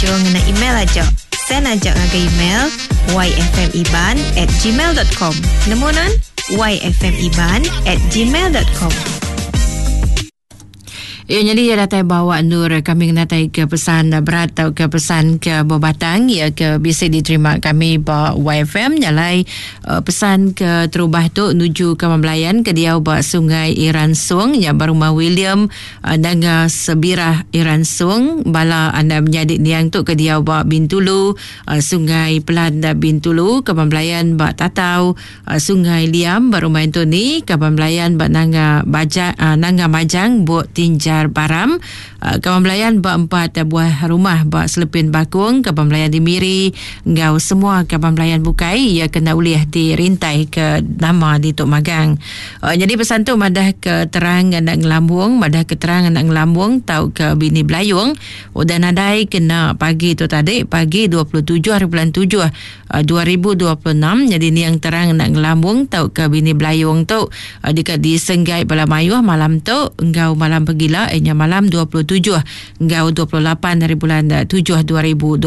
nganjung ngena email aja. Send aja ngagai email yfmiban at gmail dot com. Nemu nan? yfmiban at gmail dot com. Iya nyadi iya datai bawa endur kami ngenatai ke pesan berat tau ke pesan ke bebatang iya ke bisi diterima kami ba YFM nyalai uh, pesan ke terubah tu nuju ke Belayan ke diau ba Sungai Iran Sung nya ba rumah William uh, Nanga Sebirah Iran Sung bala anda menyadi niang tu ke diau ba Bintulu uh, Sungai Pelan Bintulu ke Belayan ba Tatau Sungai Liam ba Rumah Anthony, kaban belayan ba Nanga Baja, Nanga Majang Buk Tinjar Baram, kaban belayan ba empat buah rumah ba Selepin Bakong, kaban belayan di Miri enggau semua kaban belayan bukai iya kena ulih dirintai ke nama ditu magang. Nyadi pesan tu madah ke terang enda ngelambung, madah ke terang enda ngelambung tauka bini Belayung udah nadai kena pagi tu tadi, pagi 27 hari bulan tujuh 2026 nyadi niang terang enda ngelambung tauka bini Belayung tu deka disenggai bala mayuh malam tu enggau malam pegila iya nya malam 27 enggau 28 hari bulan tujuh 2026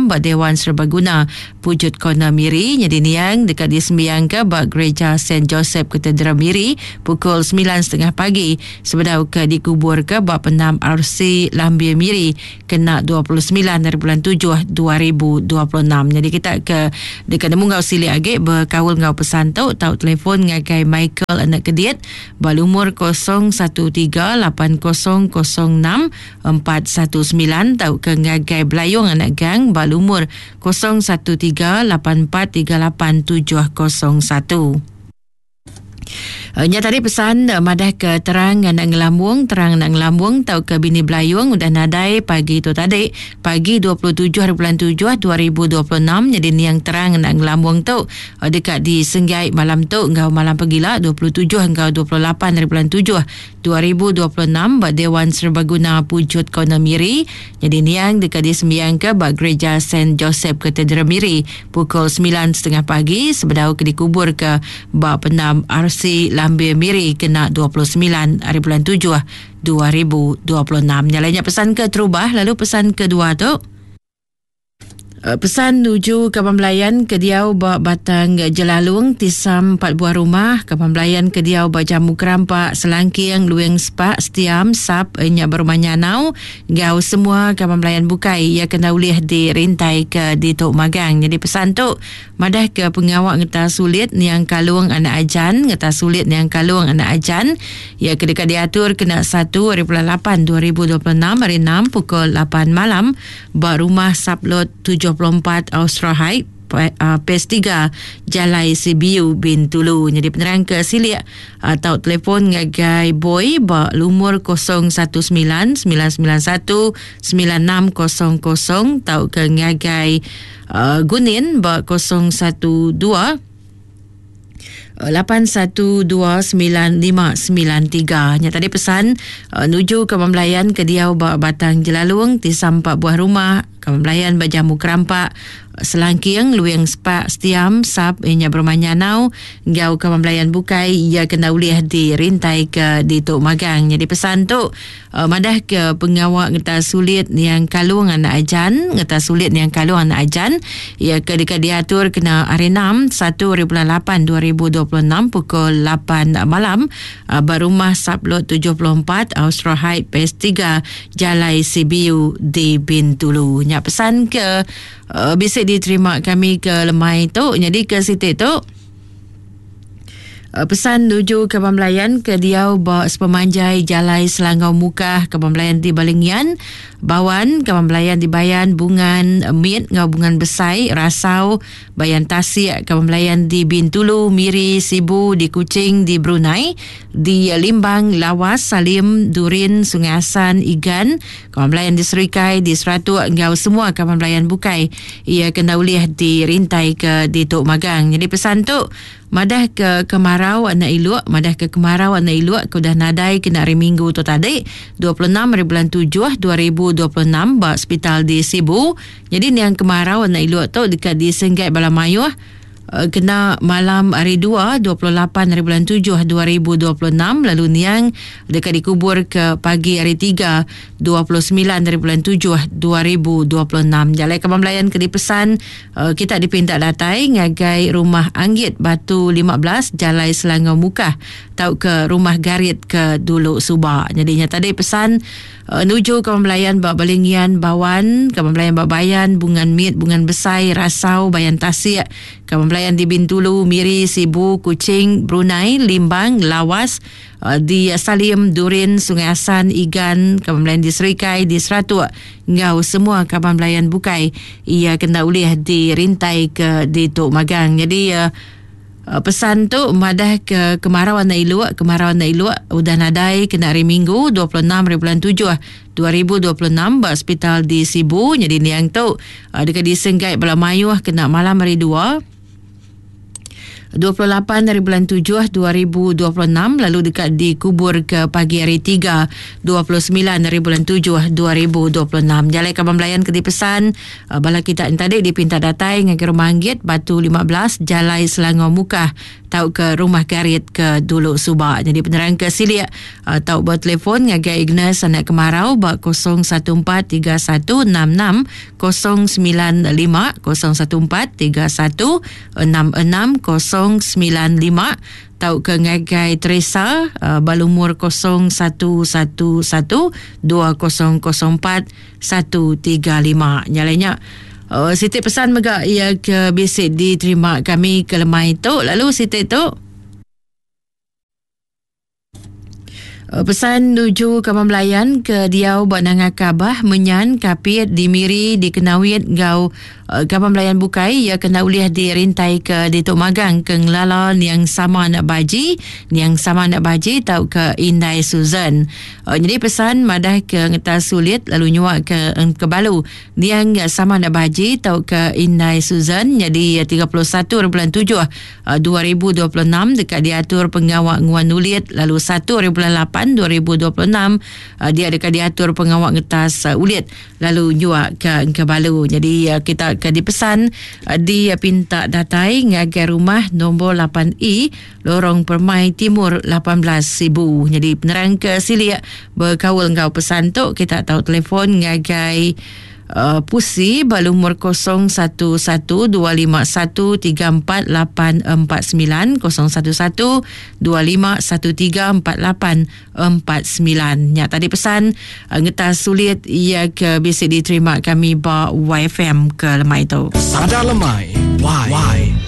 ba Dewan Serbaguna Pujut Corner Miri nyadi niang deka disembiangka ba Gereja Saint Joseph Cathedral Miri pukul semilan setengah pagi sebedau ke dikuburka ba Pendam RC Lambir Miri kena 29 hari bulan 7 2026. Jadi kita ke deka nemu enggau silik agi bekaul enggau pesan tu tau telefon ngagai Michael Anak Kedit ba lumur 013-8006 419 tauka ngagai Belayung Anak Gang ba lumur 013 8438 701. Nya tadi pesan madah ke terang anak ngelambung, terang anak ngelambung tauka bini Belayung udah nadai pagi tu tadi, pagi 27 hari bulan 7 2026 nyadi niang terang anak ngelambung tu deka disenggai malam tu enggau malam pegila 27 enggau 28 hari bulan 7 2026 ba Dewan Serbaguna Pujut Corner Miri nyadi niang deka disembiangka ba Gereja Saint Joseph Cathedral Miri pukul semilan setengah pagi sebedau ke dikuburka ba Pendam RC Lambir Miri kena 29 hari bulan tujuh 2026. Nya alai nya pesan keterubah lalu pesan kedua tu. Pesan nuju kaban belayan ke diau ba Batang Jelalung, Tisam empat buah rumah, kaban belayan ke diau ba Jamu Kerampak, Selangking, Luing Sepak, Setiam, Sap, nya ba Rumah Nyanau enggau semua kaban belayan bukai iya ke enda ulih dirintai ke ditu magang. Nyadi pesan tu madah ke pengawa ngetas ulit niang Kalung anak Ajan, ngetas ulit niang Kalung anak Ajan iya ke deka diatur kena satu ari bulan lapan 2026 hari enam pukul lapan malam ba Rumah Sublot 74 Austra Heights, Phase 3, Jalai Sibiu, Bintulu. Nyadi penerang ke silik tau telefon ngagai Boy ba lumur 019 991 9600 tauka ngagai Gunin ba 012 8129593. Nya tadi pesan uh, nuju ke pembelayan ke diau ba Batang Jelalung ti sampa buah rumah ke pembelayan ba Jamu Kerampak Selangking Luing Sepak Setiam Sap inya berumah Nyanau enggau ke pembelayan bukai iya kena ulih dirintai ke ditu magang. Jadi pesan tu Madah ke pengawa ngetas sulit niang Kalung anak Ajan, ngetas sulit niang Kalung anak Ajan, iya ke deka diatur kena hari enam, satu hari bulan lapan 2026 pukul lapan malam ba Rumah Sublot 74, Austra Heights, Phase 3, Jalai Sibiu di Bintulu. Nya pesan ke bisi diterima kami ke lemai tu. Nyadi ke siti tu, Pesan nuju Kaban Belayan ke diau ba sepemanjai Jalai Selangau Mukah, Kaban Belayan di Balingian, Bawan, Kaban Belayan di Bayan, Bungan Mit enggau Bungan Besai, Rasau, Bayan Tasik, Kaban Belayan di Bintulu, Miri, Sibu, di Kuching, di Brunei, di Limbang, Lawas, Salim, Durin, Sungai Assan, Igan, Kaban Belayan di Serikai, di Seratuk enggau semua kaban belayan bukai iya ke enda ulih dirintai ke ditu magang. Nyadi pesan tu Madah ke kemarau anak iluk, madah ke kemarau anak iluk ke udah nadai kena hari Minggu tu tadi, 26 hari bulan tujuh 2026 ba sepital di Sibu. Nyadi niang kemarau anak iluk tu deka disenggai bala mayuh. Kena malam hari dua, 28 hari bulan tujuh 2026 lalu niang deka dikubur ke pagi hari tiga, 29 hari bulan tujuh 2026. Jalai kaban belayan ke dipesan kita dipinta datai ngagai Rumah Anggit Batu 15 Jalai Selangau Mukah tauka Rumah Garit ke dulu suba. Nyadi nya tadi pesan Nuju kaban belayan ba Balingian, Bawan, kaban belayan ba Bayan, Bungan Mit, Bungan Besai, Rasau, Bayan Tasik, kaban belayan di Bintulu, Miri, Sibu, Kuching, Brunei, Limbang, Lawas, di Salim, Durin, Sungai Asan, Igan, kaban belayan di Serikai, di Seratuk enggau semua kaban belayan bukai iya ke enda ulih dirintai ke ditu magang. Nyadi Pesan tu madah ke kemarau anak iluk, kemarau anak iluk udah nadai kena hari Minggu 26 hari bulan 7 2026 ba sepital di Sibu. Nyadi niang tu deka disenggai bala mayuh kena malam hari dua 28 hari bulan 7 2026 lalu deka dikubur ke pagi hari 3 29 hari bulan 7 2026. Jalai kaban belayan ke dipesan Bala kita entadi dipinta datai ngagai Rumah Anggit, Batu 15, Jalai Selangor Mukah tauka Rumah Garit ke dulu suba. Nyadi penerang ke silik tau betelefon ngagai Ignas Anak Kemarau ba 014 3166 095 014 3166 095 tauka ngagai Teresa ba lumur 0111 2004 135. Nya alai nya uh, siti pesan mega ia ke bisi diterima kami ke lemai tu lalu siti tu uh, pesan nuju kaban belayan ke diau ba Nanga Kabah, Menyan, Kapit, di Miri, di Kenawit enggau Kaban belayan bukai iya kena ulih dirintai ke ditu magang ke ngelala niang sama anak baji, niang sama anak baji tauka indai Susan. Nyadi pesan madah ke ngetas sulit lalu nyua ke engkebalu niang sama anak baji tauka indai Susan nyadi 31 hari bulan 7 2026 deka diatur pengawa nguan ulit lalu 1 hari bulan 8 2026 dia deka diatur pengawa ngetas ulit lalu nyua ke engka balu. Jadi kita ke dipesan dipinta datai ngagai rumah nombor 8E Lorong Permai Timur 18 Sibu. Jadi penerang ke silik bekaul enggau pesan tu kita tau telefon ngagai Pusi ba lumur 0112513484 011 251348 49. Nya tadi pesan ngetas sulit iya ke bisi diterima kami ba YFM ke lemai tu. Sada lemai. Y.